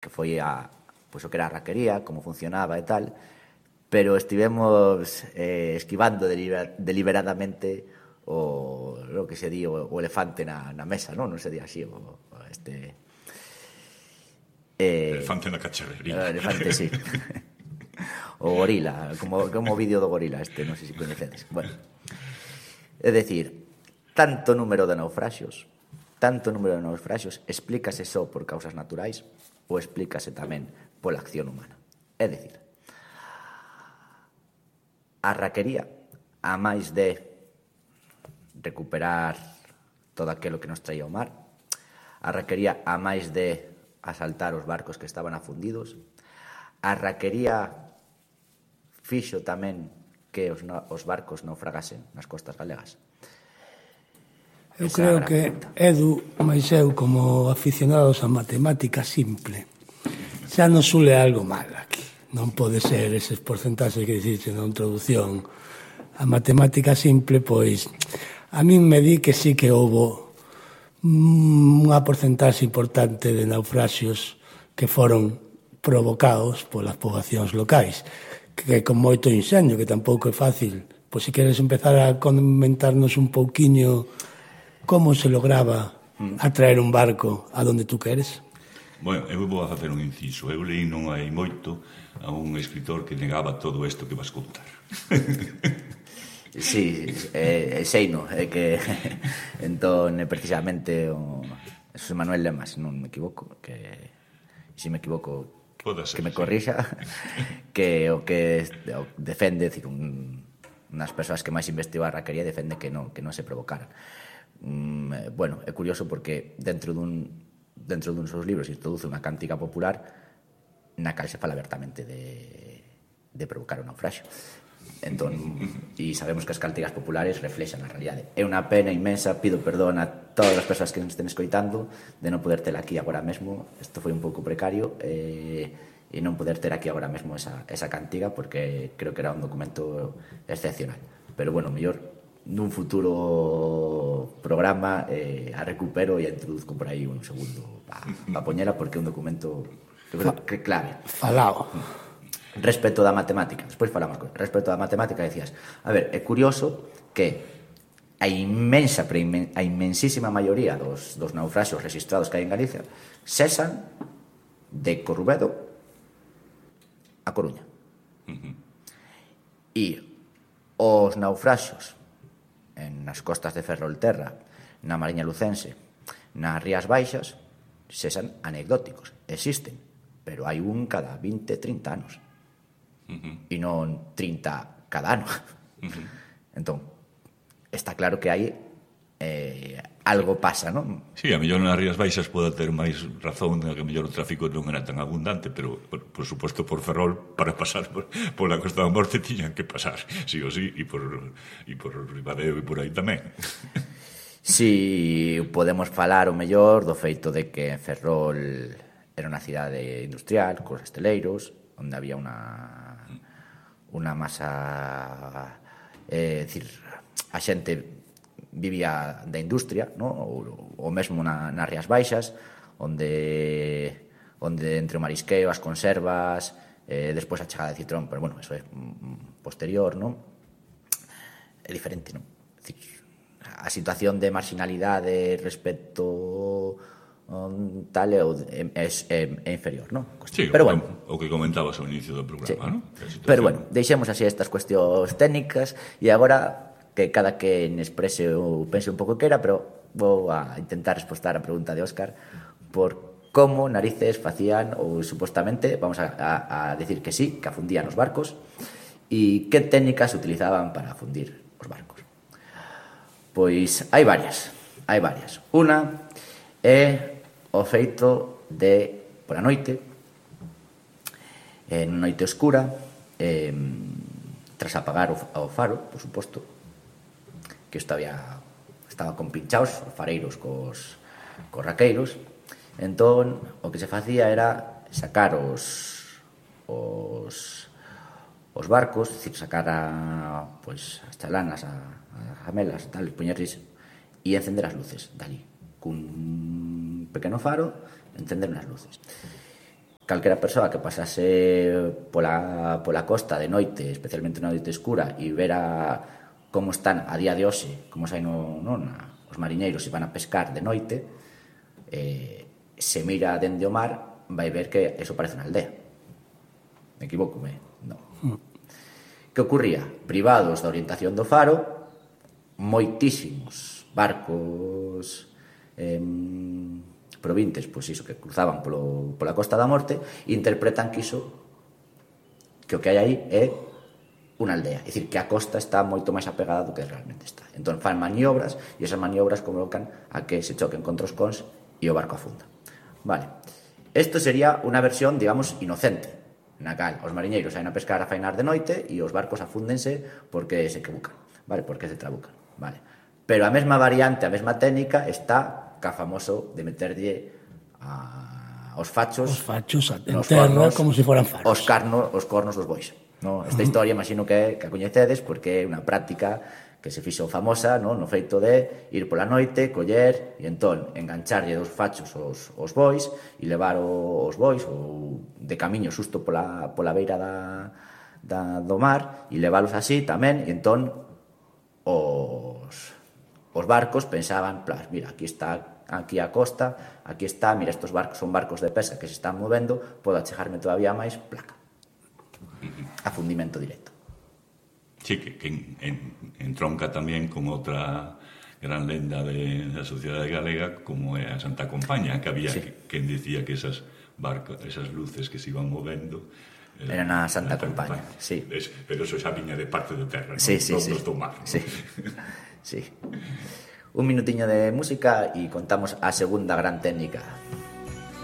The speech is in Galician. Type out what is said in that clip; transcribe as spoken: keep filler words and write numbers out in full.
que foi a, pois, o que era a raquería, como funcionaba e tal, pero estivemos eh, esquivando deliber, deliberadamente o, lo que se di o, o elefante na, na mesa, non? Non se di así, o, o este... Eh, elefante na cacharrería. O elefante, sí. O gorila, como, como o vídeo do gorila este, non sei se coñecedes. Bueno, é dicir, tanto número de naufraxios, tanto número de naufraxios, explícase só por causas naturais ou explícase tamén pola acción humana. É dicir, a raquería, a máis de recuperar todo aquilo que nos traía o mar, a raquería, a máis de asaltar os barcos que estaban afundidos, a raquería fixo tamén que os, os barcos naufragasen nas costas galegas. Eu creo que Edu, máis eu, como aficionados a matemática simple, xa non sule algo mal aquí. Non pode ser eses porcentaxes que diciste na introducción. A matemática simple, pois, a min me di que sí que houbo unha porcentaxe importante de naufraxios que foron provocados polas poboacións locais, que con moito inxenio, que tampouco é fácil. Pois se queres empezar a comentarnos un pouquiño como se lograba atraer un barco a donde tú queres? Bueno, eu vou a facer un inciso. Eu leí non hai moito a un escritor que negaba todo isto que vas contar. Sí, eh, sei no, é que entón é precisamente o José Manuel Lema, se non me equivoco, que se me equivoco ser, que me sí. corrixa, que o que o defende, decir, un, unhas persoas que máis investigou a raquería defende que non, que non se provocaran. Mm, bueno, é curioso porque dentro dun dentro dun seus libros introduce unha cántica popular na cal se fala abertamente de, de provocar un naufraxio. Entón, e sabemos que as cánticas populares reflexan a realidade. É unha pena inmensa, pido perdón a todas as persoas que nos estén escoitando de non poder ter aquí agora mesmo, isto foi un pouco precario, e, e non poder ter aquí agora mesmo esa, esa cántica, porque creo que era un documento excepcional. Pero bueno, mellor nun futuro programa eh, a recupero e a introduzco por aí un segundo para pa poñela, porque é un documento que creo que é clave. Falao. Respecto da matemática, despois falamos con respecto da matemática, decías, a ver, é curioso que a inmensa, a inmensísima maioría dos, dos naufraxios registrados que hai en Galicia cesan de Corrubedo a Coruña. Uh-huh. E os naufraxios en nas costas de Ferrolterra, na Mariña Lucense, nas Rías Baixas, cesan anecdóticos, existen, pero hai un cada vinte, trinta anos. Uh-huh. E non trinta cada ano. Uh-huh. Entón, está claro que hai eh, algo pasa, non? Sí, a mellor nas Rías Baixas pode ter máis razón de que a mellor o tráfico non era tan abundante, pero, por, por suposto, por Ferrol, para pasar por, por la Costa da Morte tiñan que pasar, sí o sí, e por, e por Ribadeo e por aí tamén. Si podemos falar o mellor do feito de que Ferrol era unha cidade industrial, cos esteleiros, onde había unha unha masa, é eh, dicir, a xente vivía da industria, no? ou, ou mesmo na, nas Rías Baixas, onde onde entre o marisqueo, as conservas, eh, despois a chegada de Citrón, pero bueno, eso é posterior, non? É diferente, non? É dicir, a situación de marginalidade respecto um, tal é, é, é, é inferior, non? Sí, pero o, bueno, o que comentabas ao inicio do programa, sí. non? Pero bueno, deixemos así estas cuestións técnicas e agora que cada quen exprese ou pense un pouco que era, pero vou a intentar respostar a pregunta de Óscar por como narices facían ou supostamente, vamos a, a, a decir que sí, que afundían os barcos e que técnicas utilizaban para afundir os barcos. Pois hai varias, hai varias. Unha é o feito de, por a noite, en noite oscura, eh, tras apagar o, o faro, por suposto, que estaba, estaba compinchados os fareiros cos, cos raqueiros, entón o que se facía era sacar os os, os barcos, decir, sacar a, pois, as chalanas, a, as ramelas, tal, poñerles e encender as luces dali, cun pequeno faro, encender as luces. calquera persoa que pasase pola, pola costa de noite, especialmente na noite escura, e vera como están a día de hoxe, como saen no, no, na, os mariñeiros e van a pescar de noite, eh, se mira dende o mar, vai ver que eso parece unha aldea. Me equivoco, me? Non. Que ocurría? Privados da orientación do faro, moitísimos barcos eh, provintes, pois iso, que cruzaban polo, pola Costa da Morte, e interpretan que iso, que o que hai aí é unha aldea. É dicir, que a costa está moito máis apegada do que realmente está. Entón fan maniobras, e esas maniobras convocan a que se choquen contra os cons e o barco afunda. Vale. Isto sería unha versión, digamos, inocente, na cal os mariñeiros saen a pescar a fainar de noite e os barcos afúndense porque se equivocan, vale? Porque se trabucan, vale? Pero a mesma variante, a mesma técnica está ca famoso de meterlle a, os fachos os fachos en terra cornos, como se foran faros, os, carnos, os cornos dos bois, no? Esta historia imagino que, que a coñecedes porque é unha práctica que se fixo famosa, no? No feito de ir pola noite, coller e entón engancharlle dos fachos os, os bois e levar o, os bois ou de camiño xusto pola, pola beira da, da, do mar e leválos así tamén, e entón os os barcos pensaban, plas, mira, aquí está aquí a costa, aquí está, mira, estos barcos son barcos de pesca que se están movendo, podo achegarme todavía máis, placa. Afundimento directo. Sí, que, que en, en, entronca tamén con outra gran lenda de, da sociedade galega, como é a Santa Compaña, que había sí. que, quen dicía que esas barcos, esas luces que se iban movendo era na Santa Compaña, sí. Es, pero eso xa viña de parte de terra, sí, non? Sí, non sí. do mar. Sí. Sí. Un minutiño de música e contamos a segunda gran técnica.